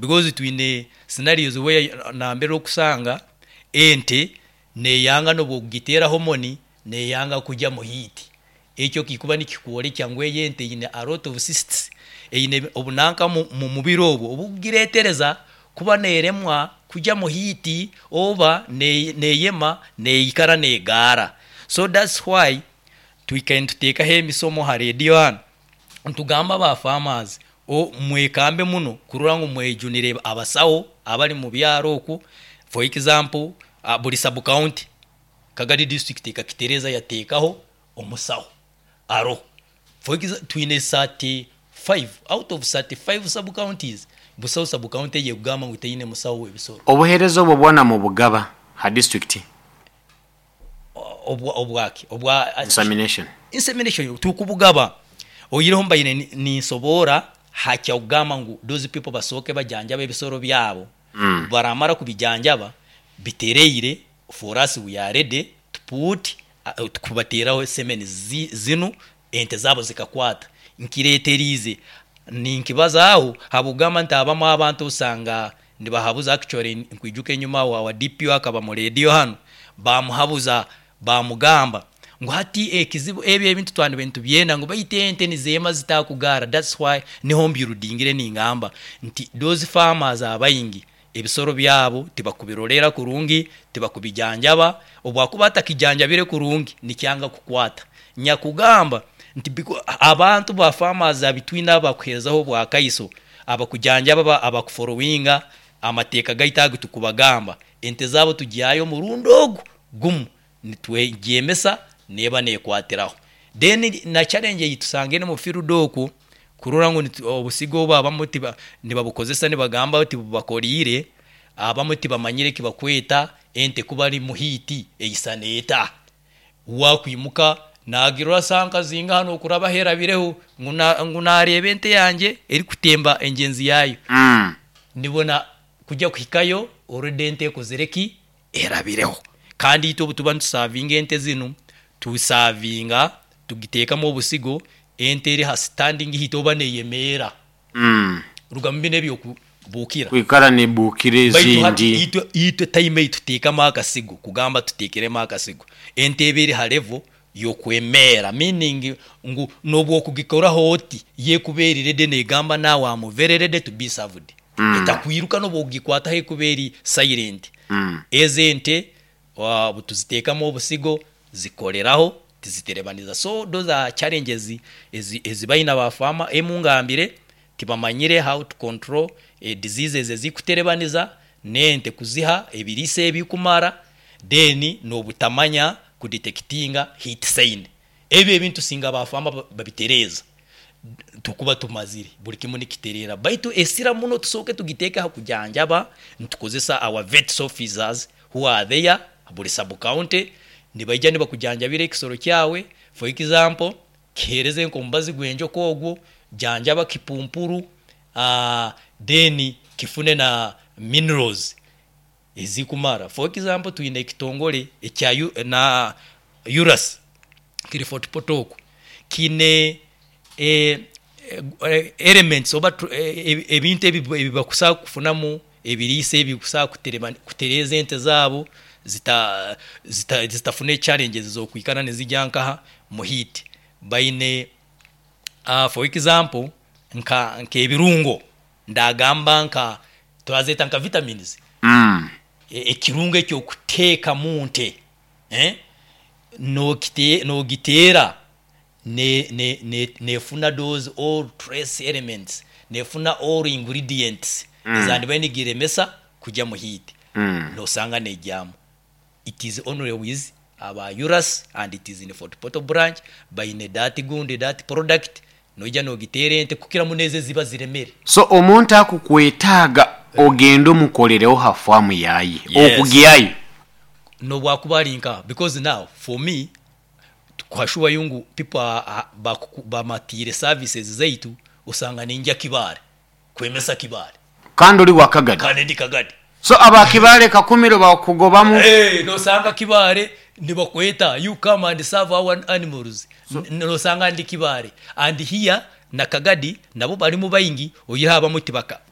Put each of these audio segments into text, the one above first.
Because twine scenarios where nambere okusanga ente neyanga nobu okugiteera hormone neyanga kugya mu heat. Ekyo kikuba nikikworekya ngu eyo ente eine a lot of cysts, eine obunanka omu mubiri obwo obukugiretereza kuba neremwa kugya mu heat oba neyema neikara negaara. So that's why twikaire nituteekaho emisomo ha rediyo hanu nitugamba ba farmers mwekambe muno kurora ngu mwejunire abasaho abari mu byaro okwo. For example buri sub county Kagadi district ekakitereeza yateekaho omusaho aroho. For example twine 35 out of 35 sub counties busaho sub county eyekugamba ngu teine musaho w'ebisoro. Obuheereza obwo bwona mubugaba ha disiturikiti? Obwaki? Obwa Insemination. Insemination tukubugaba oihireho mbaire ninsoboora hakyakugamba ngu those people basooke bajanjabe ebisoro byabo, obubaramara kubijanjaba bitereire For us we are ready to put kubateeraho semen zinu ente zaabo zikakwata. Nkireeteriize ninkibazaaho habw'okugamba nti abamu abantu osanga nibahabuza actually nkwijuka enyuma aho our DPO akaba mu rediyo hanu baamuhabuza baamugamba ngu hati ekizibu ebi ebintu twandibaire nitubyenda ngu baitu ente nizeema zitakugaara that's why niho mbyurudingire ningamba nti those farmers abaingi Ebisoro byabo tibakubiroleera kurungi, tibakubijanjaba. Obu akuba atakijanjabire kurungi nikyanga kukwata. Nyakugamba nti abantu ba farmers abitwine abakuheerezaho obwakaiso, abakujanjaba, abakuforowinga amateeka gaitu agu tukubagamba, ente zaabo tugihaayo omurundi ogu gumu nitwegyemesa neeba neekwatiraho. Then na challenge ei tusangire omu field okwo kurora ngu obusigo obu abamwe nibabukozesa nibagamba ngu tibubakoriire, abamwe tibamanyire eki bakweta ente ku bari mu heat eisana eta. Waakwimuka naagirora saaha nka zingaha nookurabaho erabireho ngu naareeba ente yangye erikutemba engyenzi yaayo. Nibona kugya kuhikayo already ente ekozire ki? Erabireho. Kandi itwe obu tuba nitusavinga ente zinu, tusavinga tugiteekamu obusigo, ente eri ha standing heat oba neyemeera. Rugamu binu eby'okubuukira. Kwikara nebuukira Baitu hati ezindi. itwe time ei tuteekamu akasigo, kugamba tuteekeremu akasigo, ente eba eri ha level y'okwemeera meaning ngu n'obu okugikoraho oti, yo ekuba eri ready negamba naawe am very ready to be served. Etakwiruka n'obu okugikwataho ekuba eri silent. Ezo ente obu tuziteekamu obusigo zikoreraho tiziterebaniza. So those are challenges ezi baine aba farmer. Emu ngambire tibamanyire how to control diseases ezikuterebaniza n'ente kuziha ebiriisa ebikumara then n'obutamanya ku detectinga heat sign. Ebyo ebintu singa ba farmer babitereeza tukuba tumazire buri kimwe nikitereera. Baitu esira muno tusooke tugiteeke aha kujanjaba nitukozesa our vets officers who are there buri sub county nibaija nibakujanjabira ekisoro kyawe for example kiheereze nk'omubazi gw'enjoka ogwo, janjaba kipumpuru then kifune na minerals ezikumara. For example twine ekitongore ekya na URAS kiri Fort Portal okwo kiine elements oba ebintu ebi bakusobola kufunamu ebiriisa ebikusobola kutereeza ente zaabo zitafuna challenges z'okwikara nizirya nkaha mu heat. Baine for example nk'ebirungo ndagamba nka twazeeta nka vitamins, ekirungo eky'okuteeka mu nte nogiteera nefuna those all trace elements, nefuna all ingredients ezandibaire nigiremesa kugya mu heat, nosanga negyamu. It is only with aba URAS and it is in Fort Portal branch, baine that gundi, that product, noija nogiteera ente kukira muno ezo eziba ziremere. So omuntu akukwetaaga ogende omukolereho ha faamu yaye, Yes. okugyayo. Nobwakuba ari nkaha because now for me kuhashuwayo ngu people are bamatiire services zaitu osanga ningya Kibaale kwemesa Kibaale. Kandi ori wa Kagadi. Kandi ndi Kagadi. So aba Kibaale Kakumiro bakugobamu. Nosanga Kibaale nibakweta you come and serve our animals nosanga ndi Kibaale and here. na Kagadi nabo barimu baingi, oihireho abamwe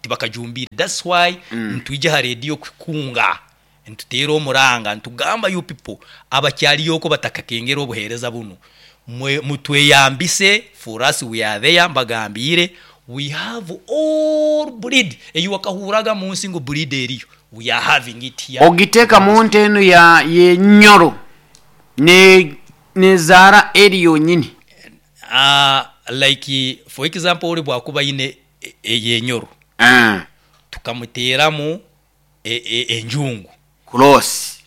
tibakajumbiire. That's why nitwija aha rediyo kukunga, nituteera omuranga nitugamba you people abakyariyo okwo batakakengera obuheereza bunu, mutweyambise for us we are there mbagambiire we have all breed eyi wakahurraga munsi ngu breed eriyo we are having it here Ogiteeka in the mu district. nte enu ya y'enyoro ne nezaara eri yonyini. Like for example ori bwakuba aine ey'enyoro tukamuteeramu enjungu. Cross.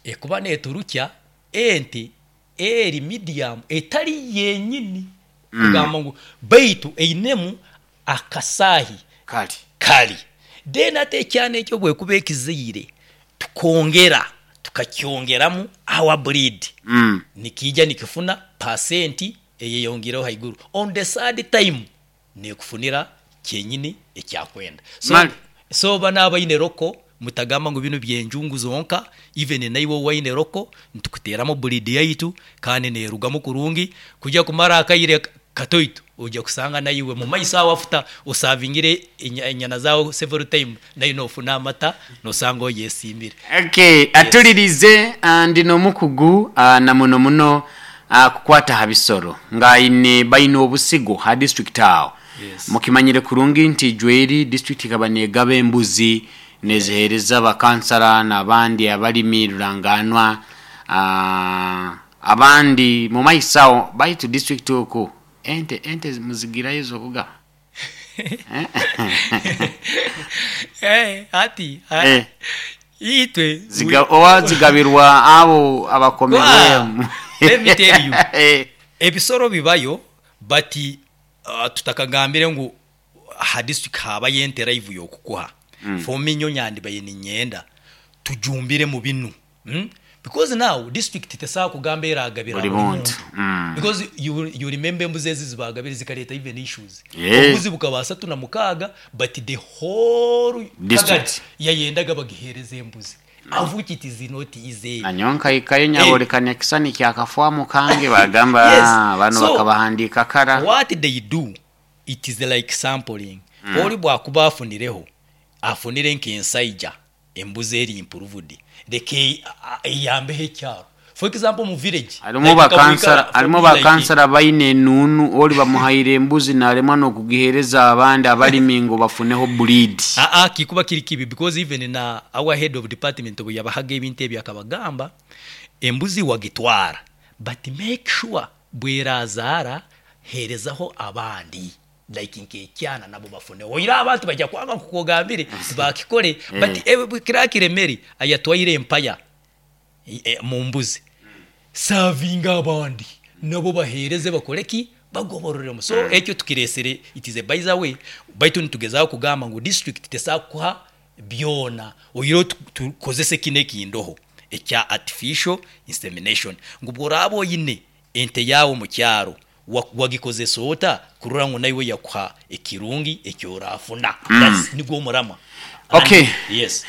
Ekuba neturukya ente eri medium etari yenyini kugamba ngu baitu einemu akasahi Kari. Kari. Then hati ekyana ekyo obwekuba ekizaire tukongera tukakyongeramu our breed nikiija nikifuna pasenti eyeyongiireho haiguru. On the third time nekufunira kyenyini ekyakwenda. So, Mali. so banu abaine roko mutagamba ngu binu byenjungu zonka, even naiwe owaine roko nitukuteeramu breed yaitu kandi nerugamu kurungi, kuija kumara akaire katoito oija kusanga naiwe mumaiso aho after osavingire enyana zaawe several time naiwe nofuna amata nosanga oyesiimire. Okay, Yes. atulirize ndi n'omukugu na muno muno kukwata ha bisoro nga aine baine obusigo ha district aho. Yes. Mukimanyire kurungi nti Jweri district ekaba negaba embuzi nezihereza abakansara n'abandi abalimi ruranganwa abandi mu maiso aho baitu district oku ente ente muzigirayo ez'okugaba? Eh, hati itwe Oba zigabirwa abo abakomerwemu? Let me tell you. Ebisoro bibayo but tutakagambire ngu ha district habayo ente live yokukuha. For me nyowe nyandibaire niinyenda tujumbire mu binu. Because now district tesobola kugamba eragabira Buli buli muntu. muntu. Because you remember embuzi ezi ezibagabire zikareeta even issues. Yeah. Obubuzi bukaba 36 but the whole District. Kagadi yayendaga bagihereze embuzi. Of which it is not easy. Nanyowe nkaikayo nyabolekana ekisani kyakafwamu kange bagamba Yes. banu So, bakabahandiika kara. What they do, it is like sampling. Ori bwakuba afunireho, afunire nk'ensaija embuzi eri improved, leka eyambeho ekyaro. For example mu village, Harimu like bakansara Kabwika, harimu for me like bakansara baine enuunu ori bamuhaire embuzi naremwa n'okugihereza abandi abalimi ngu bafuneho breed. Aa, kikuba kiri kibi because even na our head of department obu yabahaga ebintu ebi akabagamba embuzi wagitwara but make sure bwerazaara herezaho abandi like nk'ekyana nabo bafuneho. Oire abantu baija kwanga nkoku ogambire tibakikore but kira kiremeri ayatwaire empaya mu mbuzi savinga abandi nabo bahereze bakore ki bagobororemu. So ekyo tukiresere it is a by the way, baitu nitugezaho kugamba ngu district tesobola kukuha byona oihireho tukozese kinu ekindoho ekya artificial insemination ngu bworaba oine ente yaawe omu kyaro wagikozesa ota kurora ngu naiwe yakuha ekirungi ekyorafuna. That's nigwo omurama. Okay. And, yes.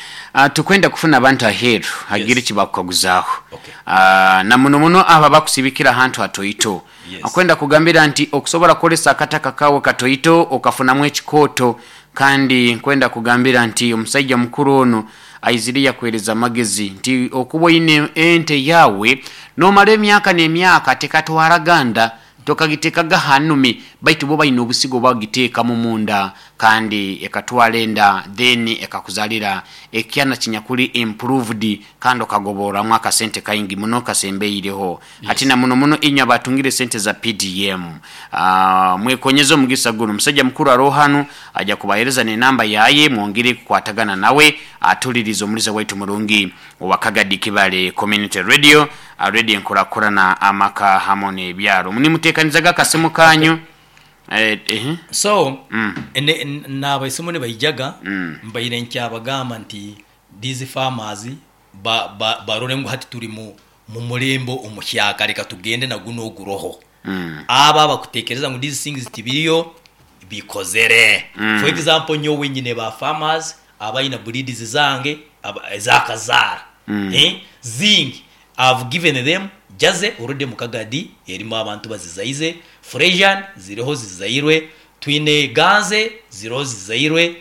Tukwenda kufuna abantu aheeru hagire Yes. ekibakukaguzaho. Okay. Na muno muno abo abakusibikira ahantu hatoito. Yes. Akwenda kugambira nti okusobora kukoresa akataka kawe katoito okafunamu ekikooto, kandi nkwenda kugambira nti omusaija mukuru ono aizire yakuhereza amagezi nti okuba oine ente yawe nomara emyaka n'emyaka tekatwara ganda tokagitekaga hanumi, baitu bo baine obusigo bagiteekamu munda kandi ekatwara enda then ekakuzalira ekyana kinyakuli improved kandi okagoboramu akasente kaingi muno kasembeireho. Yes. Hati na muno muno inywe abatungire sente za PDM mwekonyeze omugisa guno. Omusajja mukuru aroho hanu aja kubahereza n'enamba yaye mwongere kukwatagana nawe atulirize omuliza waitu murungi owa Kagadi Kibale Community Radio, radio enkurakurana amaka hamwe n'ebyaro. Nimutekanizaga akasimu kanyu. So nabaisimu nibaijaga mbaire nkyabagamba nti these farmers barore ngu hati turi mu murembo omuhyaka, reka tugende na guno oguroho. Aba abakutekereza ngu these things tibiriyo bikozere. For example nyowe nyine ba farmers abaina breeds zange ezakazaara. Zingi I've given them jaze already mu Kagadi erimu abantu bazizaize, Fresian ziriho zizairwe. Twine ganze ziroho zizairwe,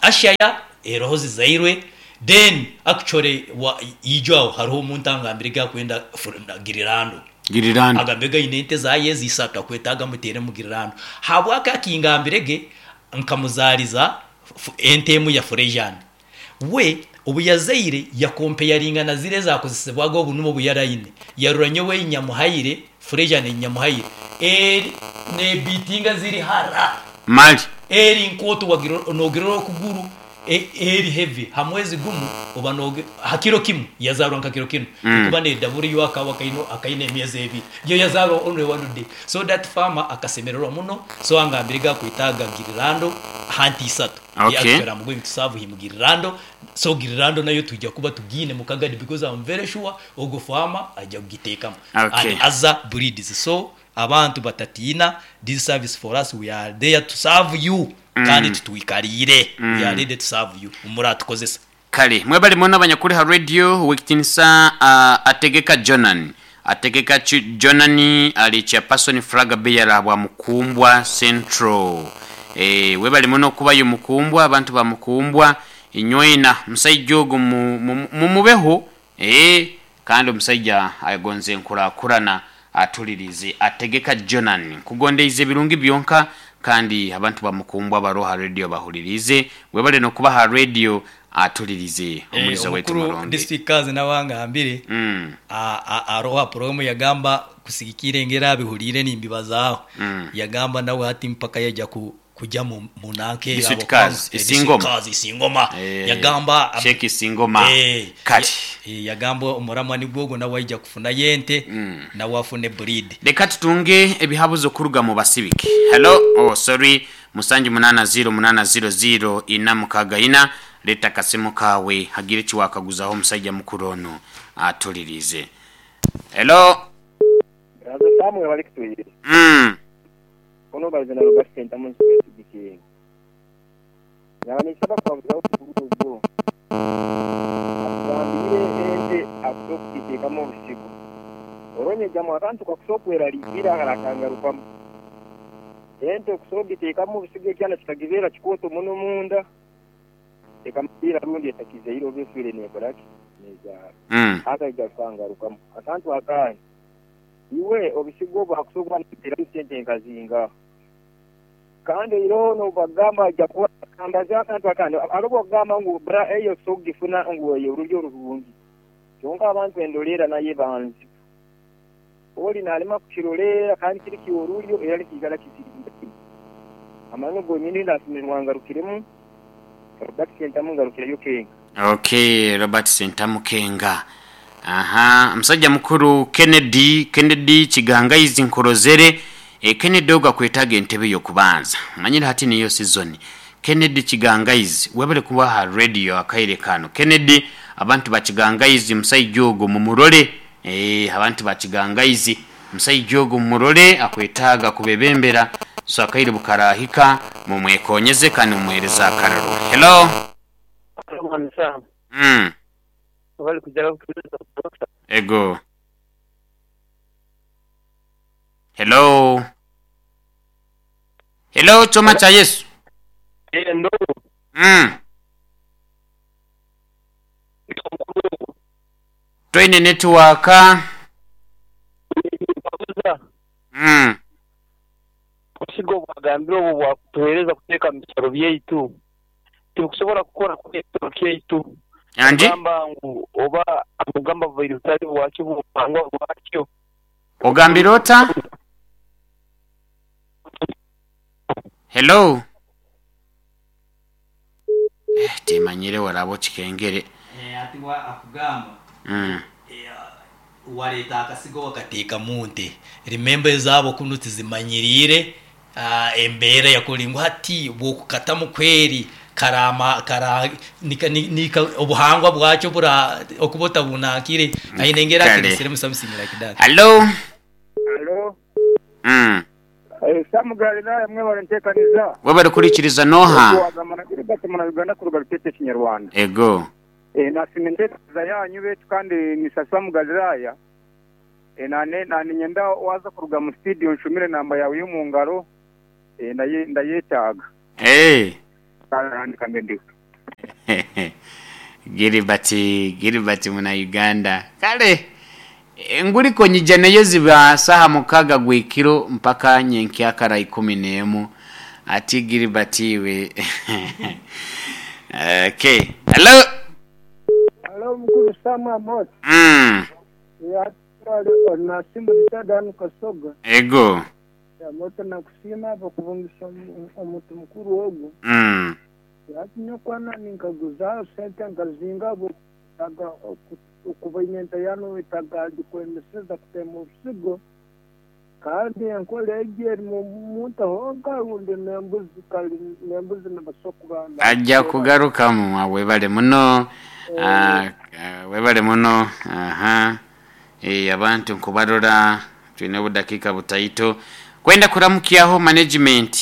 ashaya eroho zizairwe, then actually wa ijo aho hariho omuntu angambire gakwenda girirando. Girirando. Agambire gaine ente zaye zisatu akwetaaga mutere mu girirando. Habwaki akingambire ge nkamuzariza ente emu ya Fresian. We obu yazaire yakompeyaringa na ziri ezakozesebwaga obu nubwo obu yaraine. Yarora nyowe nyamuhaire Fresian nyamuhaire eri nebitinga ziri hara. Mali. Eri nkooto nogirora okuguru eri heavy ha mwezi gumu oba ha kiro kimu yazarwa nka kiro kinu ekuba nedabura yo akawa akaine emyezi ebiri yo yazarwa only one day so that farmer akasemererwa muno so angambire gakwetaga girirando hanti isatu. Okay. I'm going to serve him girirando, so girirando nayo tujja kuba tugiine mukagadi because I'm very sure ogo farmer ajja kugiteekamu. Okay. And other breeds, so abantu batatiina, this service for us, we are there to serve you. Kandi tutwikariire, we are ready to serve you muratukozesa. Kale mwebale muno abanyakuri ha radio wekitinisa ategeka Jonan ategeka Jonan ali chairperson flag bearer bwa Mukumbwa Central. Webale muno kubayo Mukumbwa, abantu ba Mukumbwa inywena musajja ogo mumubeho kandi omusajja agonze enkurakurana atulirize ategeka Jonan kugondeize ebirungi byonka kandi abantu ba Mukumbwa baroha radio bahulirize webale nokuba ha radio atulirize omulizo wetu Omukuru mulungi. District kazi nawangambire aroha program yagamba kusigikira engera abihulire nimbibazaho. Yagamba nawe hati mpaka yajja kujya mu nanke District yabo Cars, Isingoma. District Cars, Isingoma. Yagamba Sheikh Isingoma. Kati. Yagamba omuramwa nigwogo nawe ajja kufuna yente nawe afune breed. Reka tutunge ebihabuzo kuruga mu basibike. Hello, oh sorry, musanju 8 0 8 0 0 ina mukaga ina leta kasimu kawe hagire kiwakaguzaho omusajja mukuru ono atulirize. Hello. Brazo Samuel bali kutwire. Ono bazina Robert Sentamu nsikiye. Yanisaba kwavuga okugugo. Atambire ente akutokiteekamu obusigo. Oronye jamu akantu kakusokweraliikira akakangarukamu. Ente okusobiteekamu obusigo ekyana kikagibeera kikooto muno munda. Ekamupira rundi etakizeire oba efiire neekoraki nezaara. Akaija kukangarukamu. Akantu akandi. Iwe obusigo obwo akusobola kuteeramu sente nkazinga. Kandi iroho nobagamba ajja kuba akambaza akantu akandi. Alobo okugamba ngu bra eyo sogifuna ngu eyo olulyo olurungi. Kyonka abantu endoleera naye banzi. Oli nalema kukiroleera kandi kiri kiorulyo era likiikala kiziringa. Amano gonyini ndasimirwa ngarukiremu. Robert Sentamu ngarukireyo Kenga. Okay, Robert Sentamu Kenga. Aha, musajja mukuru Kennedy Kigangaizi nkorozere. Kennedy oga kwetaga entebe y'okubanza. Manyira hati niyo season. Kennedy Kigangaizi webale kuba ha radio akaire kano. Kennedy abantu ba Kigangaizi musajja ogo mumurole. Abantu ba Kigangaizi musajja ogo mumurole akwetaga kubebembera. So akaire bukarahika mumwekonyeze kandi mumuhereza akararo. Hello. Ego. Hello. Hello, choma cha Yesu. Ndo. Twine network. Obusigo bwagambire obwo bwakutuheereza kuteeka mu bisoro byaitu. Tibikusobola kukora ku bisoro byaitu. Anji? Ogamba ngu oba amugamba bubaire butali bwakyo bupangwa bwakyo. Ogambire ota? Hello. Timanyire warabo kikengere. Ati wa akugamba. Waleta akasigo wakateeka mu nte. Remember ezabo kuno tizimanyirire embeera yakulingwa hati bwokukatamu kweri karama kara nika, nika obuhangwa bwakyo bura okubota bunakire ayinengera kirisire something like that. Hello. Hello. Samu Galilaya mwe barantekaniza. Wewe barikurikiriza noha. Mana Uganda kuruga rutete Kinyarwanda. Ego. Nasimentekaniza yanyu betu kandi ni Samu Galilaya. Nane nyenda waza kuruga mu studio nshumire namba yawe yo mu ngaro. Ndayetaaga. Kale ndiho. Gilbert, Gilbert muna Uganda. Kale enguliko nyija nayo ziba saha 6 gwekiro mpaka nyenkyakara 11. Ati Gilbert iwe. Okay. Hello. Hello, mkuru Sama Amos. Ya nasimu Dan Kasoga. Ego. Ya moto nakusima bakubungisa omuntu mukuru ogu. Yatinyokwana ninkaguza sente nkazinga butaga okubainenta yano itaga dikwemeseza kutema obusigo kandi enkola egi eri muntu honka rundi nembuzi kali nembuzi nabasokuganda ajja kugarukamu. Webale muno, webale muno. Aha, abantu nkubarora twine obudakika butaito kwenda kuramukyaho management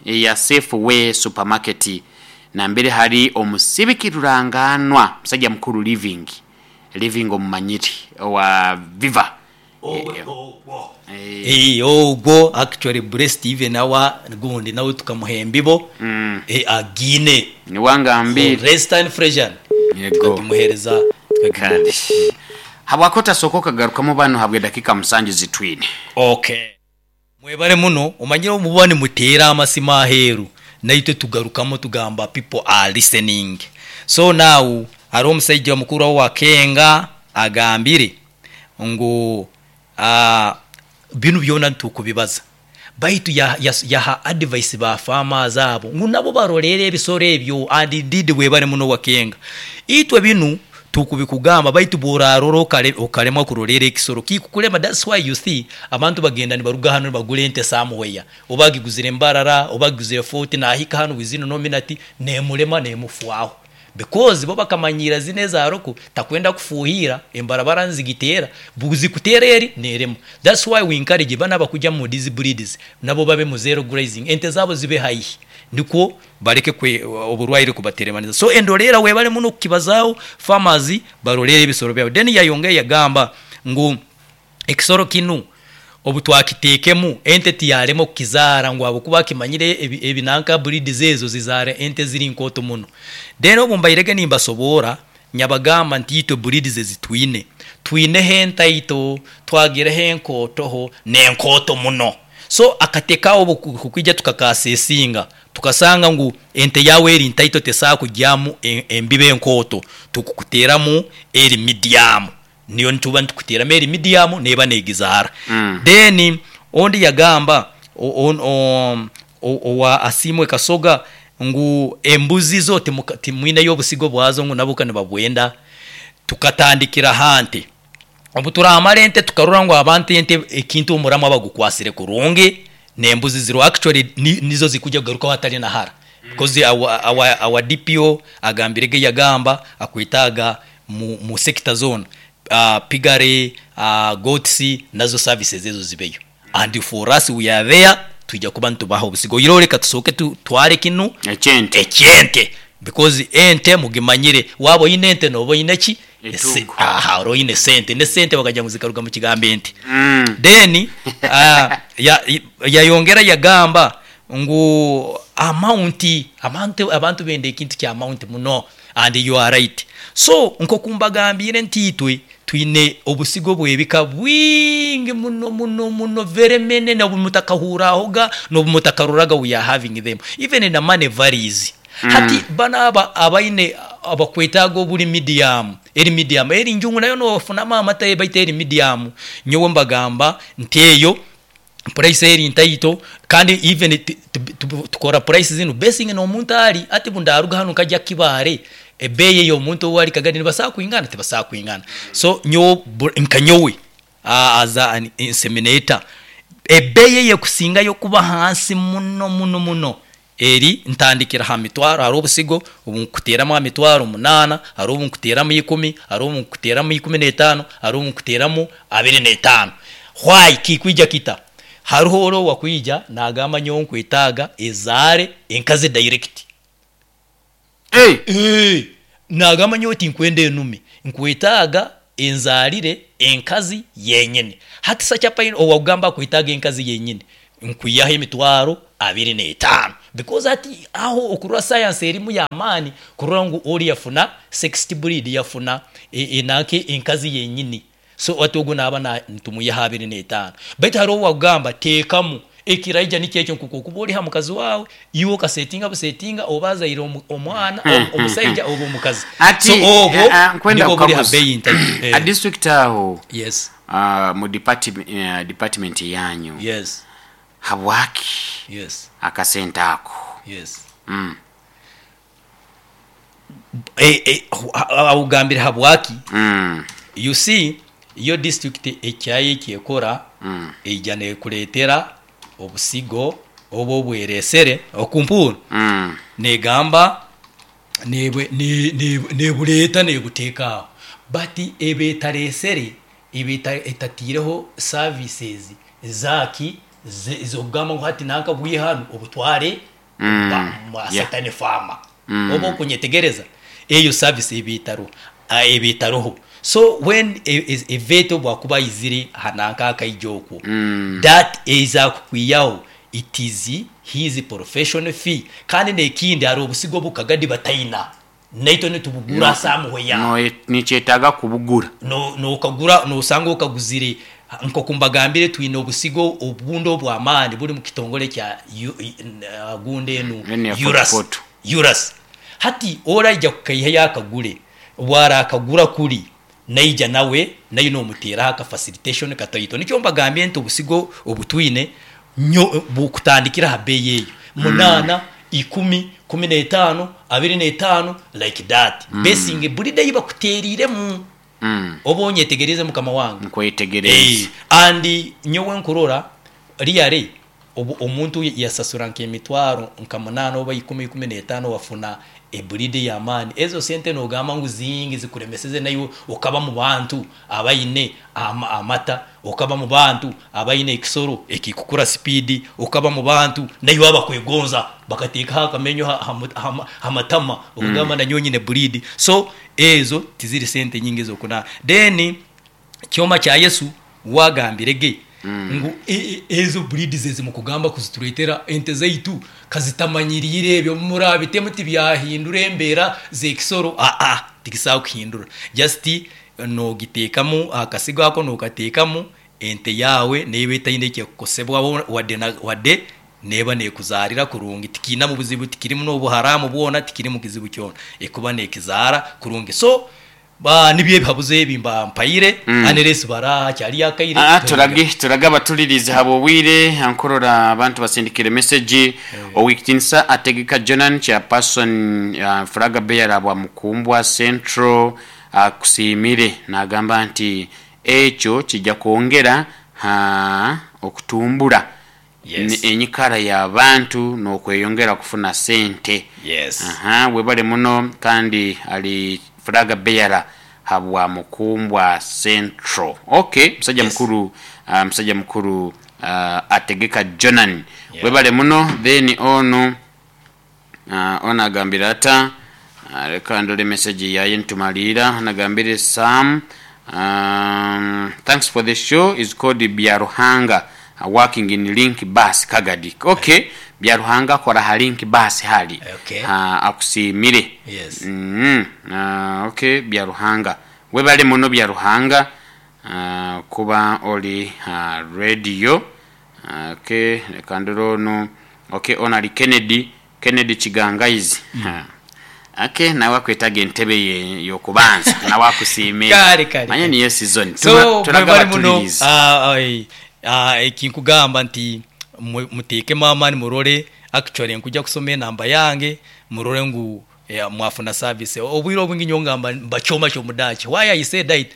ya Safeway supermarket nambere hari omusibiki ruranganwa musajja mukuru living omumanyiri wa Viva. Ogwo actually blessed even our gundi nawe tukamuhembibo agine niwangambire rest and freshen tukamuhereza. Kandi habwako tasokoka garukamu bano habwe dakika 7 zitwine. Okay, mwebare muno omanyire omubani mutera amasima aheru naitwe tugarukamo tugamba people are listening. So now ari omusajja mukuru wa Kenga agambire ngu binu byona ntukubibaza baitu yaha advice ba farmers abo ngu nabo barolere ebisoro ebyo. And indeed webare muno wa Kenga itwe binu tukubikugamba baitu boraroro okaremwa kurolera ekisoro kikukulema. That's why you see abantu bagenda nibaruga hano bagule ente somewhere obagiguzire Mbarara obagiguzire 40 nahika hano within no minute nemulema nemufwaho because bo bakamanyira zine zaroko takwenda kufuhira embarabara nzigitera buzi kutera eri neremo. That's why we encourage bana bakujya mu these breeds nabo babe mu zero grazing ente zabo zibe high niko bareke kwe oburwaire kubateremaniza. So endolera webale muno kibazao farmers barolere ebisoro byabo. Then yayongeye yagamba ngu ekisoro kinu obutwakitekemu ente tiyaremo kizara ngu abo kuba kimanyire ebinanka breed zezo zizare ente ziri nkoto muno. Then obumbairege nimbasobora nyabagamba nti itwe breed zezitwine twine henta ito twagire henkotoho nenkoto muno. So akateka obo kukwijja tukakasesinga tukasanga ngu ente yawe eri ntaito tesa kujyamu embibe enkoto tukukuteramu eri medium niyo ntuba ntukuteramu eri medium neba negizara. Then ondi yagamba owa Asimwe Kasoga ngu embuzi zo timwine yobusigo bwazo ngu nabuka nibabwenda. Tukatandikira hante obuturamara ente tukarura ngo abantu ente ekintu omuramu abagukwasire kurungi nembuzi ziro actually nizo zikujya kugaruka hatari na hara because our DPO agambirege yagamba akwitaga mu sector zone pigare goats nazo services ezo zibeyo and for us we are there tujya kuba ntubaho obusigo iroreka tusoke tware kinu ekyente because ente mugimanyire wabo ine ente nobo ine ki aha ro ine sente ne sente bakajya muzikaruga mu kigambe ente. Then yayongera yagamba ngu amount abantu bende ekintu kya amount muno and you are right. So nko kumbagambire ntitwe twine obusigo bwebika bwingi muno muno muno very many na bumutakahurahoga no bumutakaruraga we are having them even in the money varies. Hati bana abaine abakwetago buli medium eri medium eri njungu nayo no funama amata baite eri medium nyowe mbagamba nteyo price eri ntaito kandi even tukora price zino basing no muntu ari ati bundaruga hano kajya kibare ebeye yo muntu wari kagani nibasa kuingana tibasa kuingana. So nyo nkanyowe as an inseminator ebeye ye kusinga yo kuba hansi muno muno muno eri ntandikira ha mitwaro hari obusigo obunkuteramu amitwaro 8 hari obunkuteramu 10 hari obunkuteramu 15 hari obunkuteramu 25. Why kikwija kita hariho oro wakwija nagamba nyo nkwetaga ezare enkaze direct. Hey nagamba nyo tinkwende enume nkwetaga enzarire enkazi yenyene. Hati sacha pain owagamba kwetaga enkazi yenyene Nkwihaho 25,000 because hati aho okurora science erimu y'amaani kurora ngu ori yafuna sexed breed, yafuna enanka enkazi yenyini. So hati ogu naaba nitumwihaho 25. Baitu haroho owakugamba teekamu ekiraija nikyo ekyo nkoku okuba ori ha mukazi waawe, iwe okasetinga busetinga oba azaire omwana omusaija oba omukazi. Ati So obwo nkwenda nibwo buri ha kukaguza beeyi ntaito. A district aho Yes. mu department yanyu Yes. habwaki Yes. akasente ako? Yes. Mm. Awugambire habwaki? Mm. You see, yo district ekyayo ekyekora eija nekuretera obusigo oba obweresere okumpuuru negamba nebureeta nebuteeka aho, but eba etaresere, eba etatiireho services zaaki ez'okugamba ngu hati nanka bwihe hanu obutware satani farmer. Oba okunyetegereza, eyo service eba etaroho, eba etaroho. So when vet obu akuba aizire ha nanka akaija okwo, that eza kukwihaho it is his professional fee. Kandi n'ekindi hariho obusigo obu Kagadi bataina, naitwe nitubugura somewhere. Nikyetaaga kubugura. Nokagura nosanga okaguzire. Nkoku mbagambire, twine obusigo obundi obw'amaani buri mu kitongore kya gundi enu Enu ya URAS. Fort URAS. Hati oraija kukaihayo akagure, obu arakagura kuri naija nawe nayo nomuteeraho aka facilitation kataito. Nikyo mbagambire nti obusigo obutwine nyo bukutandikira ha beeyi eyo 8, 10, 15, 25, like that, basing buri day bakuteeriremu. Oba onyetegeriize mukama wange? Nkwetegereza. And nyowe nkurora really obu omuntu yasasura nk'emitwaro nka 8 oba 10, 15, wafuna ebreed ey'amaani, ezo sente nogamba ngu zingi zikuremeseze naiwe okaba mu bantu abaine amata, okaba mu bantu abaine ekisoro ekikukura speed, okaba mu bantu naiwe abakwegonza bakateekaho akamenyo ha matama okugamba nanyowe nyine breed. So ezo tiziri sente nyingi ez'okuna. Then kyoma kya Yesu wagambire ge ngu ezo breeds ezi mukugamba kuzitureetera ente zaitu kazitamanyiriire ebyo murabitemu tibyahindura embeera z'ekisoro. Aa, tikisobola kuhindura, just nogiteekamu akasigo ako, nokateekamu ente yaawe neeba etaine ekyekukosebwaho wadde na wadde, neeba nekuzaarira kurungi, tikiinamu buzibu, tikirimu n'obuharamu bwona, tikirimu kizibu kyona, ekuba nekizaara kurungi. So nibyo ebihabuzo ebi mba mpaire unless bara hakyariyo akaire. Turage turage abatulirize haba obwire nkurora abantu basindikire message. Owekitinisa Ategeka Jonan, chairperson, flag bearer bwa Mukumbwa Central, akusiimire nagamba nti ekyo kijja kwongera ha okutumbura enyikara y'abantu n'okweyongera kufuna sente. Aha, webale muno kandi ali flag bearer habwa Mukumbwa Central. Okay, musajja mukuru, musajja mukuru Ategeka Jonan. Webale muno. Then ono ono agambire ata? Leka ndole message yaye ntumaliira. Anagambire Sam, thanks for the show, is called Byaruhanga, working in Link Bus Kagadi. Okay, Byaruhanga akora ha Link Bus hali. Akusiimire. Okay, Byaruhanga. Webale muno Byaruhanga kuba oli ha radio. Okay, leka ndore ono. Okay, ono ali Kennedy, Kennedy Kigangaizi. Okay, nawe akwetaga entebe ye y'okubanza, nawe akusiimire. Kale, kale, Manya kale. niyo season. So Turaga mwebale muno. abatulirize. Ekinkugamba nti muteekemu amaani murore, actually nkuja kusoma enamba yange murore ngu mwafuna service. Obwire obwingi nyowe ngamba mbachoma ky'omudaaki. Why I say that,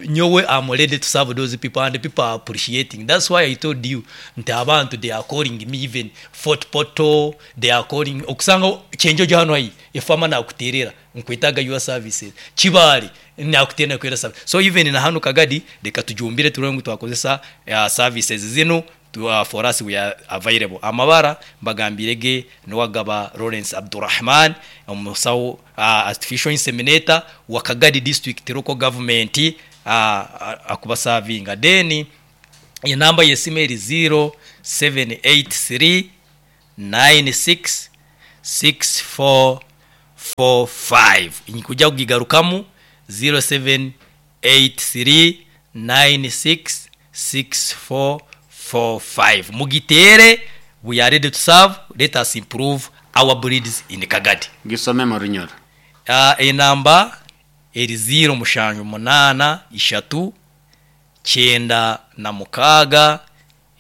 nyowe am ready to serve those people and the people are appreciating. That's why I told you nti abantu they are calling me, even Fort Portal they are calling, okusanga kyenjojo hano haihi efama nakuterera nkwetaga your services, Kibaale nakuterera nakwera service. So even na hanu Kagadi leka tujumbire turore ngu twakozesa services zinu for us we are available. Amabara mbagambire ge Nuwagaba Lawrence Abdurrahman, omusawo artificial inseminator wa Kagadi district local government, akubasavinga. Then enamba y'esimu eri 783 96 64 45. Nkuja kugigarukamu 0783 96 64 45. Mugitere, we are ready to serve. Let us improve our breeds in Kagadi. Gisome mu runyoro. Enamba eri 0 mushanju munana ishatu kyenda na mukaaga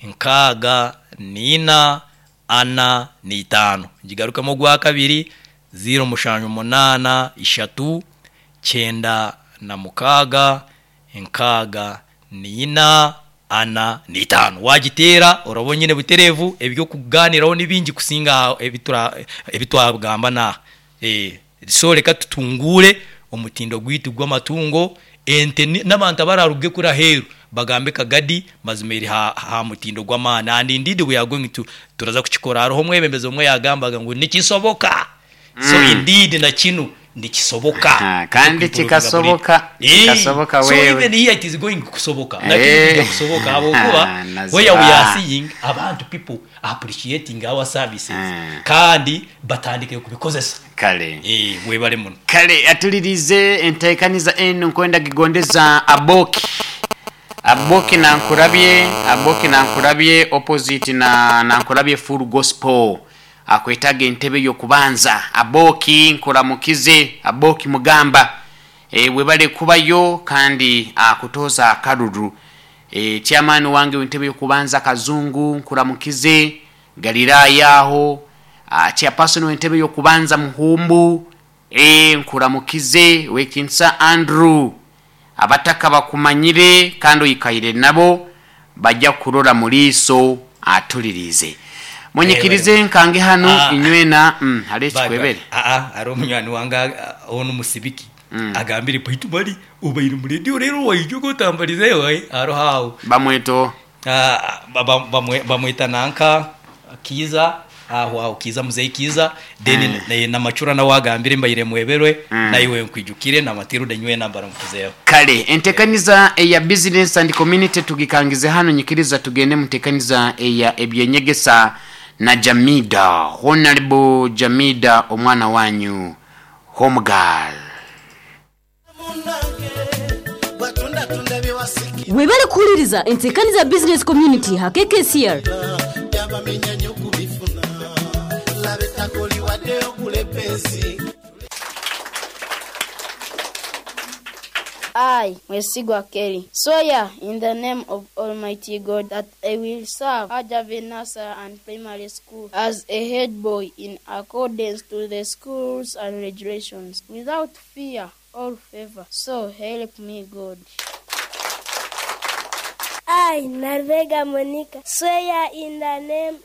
nkaaga nina ana n'itaano. Ngigarukemo ogwa kabiri 0 mushanju munana ishatu kyenda na mukaaga nkaaga nina ana n'itaano. Wagiteera oraba nyine butereevu, ebyokuganiraho ni bingi kusinga ebitwagamba naaha. So reka tutungure omutindo gwitu gw'amatungo ente n'abantu abararuge kuri aheeru bagambe Kagadi mazima eri ha mutindo gw'amaani. And indeed we are going to turaza kukikora. Hariho omwebembezi omwe yagambaga ngu nikisoboka. So indeed na kinu nikisoboka. Kandi kikasoboka, kikasoboka So wewe. even here it is going kusoboka. Na kinu kijja kusoboka habwokuba Naziba. where we are seeing abantu people appreciating our services kandi batandike kubikozesa. Kale. Webale muno. Kale atulirize enteekaniza eno nkwenda gigondeza aboki. Aboki nankurabye, aboki nankurabye opposite na nankurabye full gospel. Akwetaga entebe y'okubanza. Aboki nkuramukize, aboki mugamba. Webale kubayo kandi akutoza akaruru. Chairman wange w'entebe y'okubanza Kazungu nkuramukize, Galilaya aho. Chairperson w'entebe y'okubanza Muhumbu, nkuramukize Wekinsa Andrew. Abataka bakumanyire kandi oyikaire nabo bajja kurora muliiso atulirize. Munyikirize nkange hano inywena hali ekikwebere. Ari omunywani wange ono musibiki agambire baitu bari obaire mu radio rero waija ogotambarize oye aroho aho. Bamweto. Bamweta nanka Kiza aho aho Kiza muzeyi Kiza then namacura nawe agambire mbaire mweberwe naiwe nkwijukire namatirude nywe nambara mukizeho. Kale entekaniza eya business and community tugikangize hano, nyikiriza tugende mutekaniza eya ebyenyegesa na Jamida Honorable Jamida omwana wanyu home girl. Webale kuhuliriza entekaniza business community ha KKCR. I, Mwesigwa Kelly, swear in the name of Almighty God that I will serve Ajave Nursery and Primary School as a head boy in accordance to the schools and regulations, without fear or favor. So help me God. I, Narvega Monica, swear in the name